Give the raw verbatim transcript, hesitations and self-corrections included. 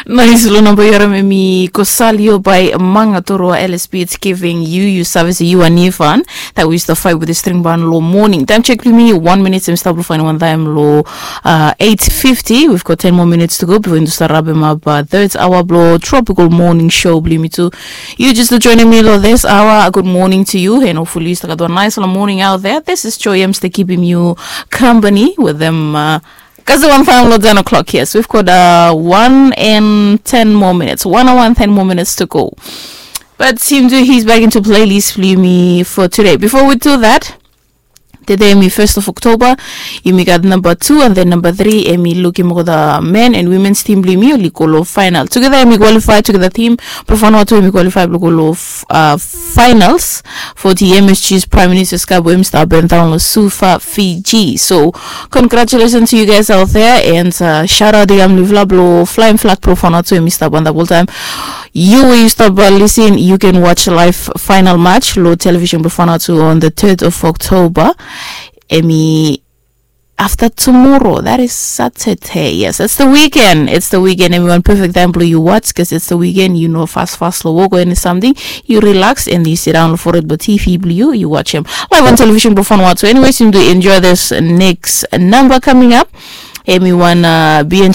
Nais lo namba yu harim em i Kosalio by Manga Toroa L S P. It's giving you, you service you and Ifan. That was the fight with the string band lo morning. Time check blo mi one minute, em stap lo fine one time lo uh, eight fifty. We've got ten more minutes to go before yumi start wrap em up uh, third hour blo tropical morning show blo mi too. You just joining me lo this hour. Good morning to you, and hopefully you start got a nice little morning out there. This is Joy. I'm still keeping you company with them. Uh, Kasi one time lo ten o'clock, yes. We've got uh, one and ten more minutes. One hour and ten more minutes to go. But him too, he's back into playlist blo mi for today. Before we do that, tede em i first of October, yumi gat number two and then number three, em i lukim olgeta men and women's team blo mi oli go lo final. Together em i qualify, together team blo Vanuatu em i qualify blo go lo uh, finals for the M S G's Prime Minister's Cup wey em i stap happen down lo Suva, Fiji. So congratulations to you guys out there, and uh, shout out to yam livla blo flying flag blo Vanuatu em i stap on the whole time. You wey you stop uh, listen, you can watch live final match lo television blo Vanuatu on the third of October. Em i after tomorrow, that is Saturday. Yes, it's the weekend. It's the weekend. Everyone, perfect time blo you watch, because it's the weekend. You know, fast, fast, lo work or any something. You relax and you sit down for it. But T V blo you, you watch him live on television blo Vanuatu. Anyways, you do enjoy this next number coming up. Everyone, uh, be in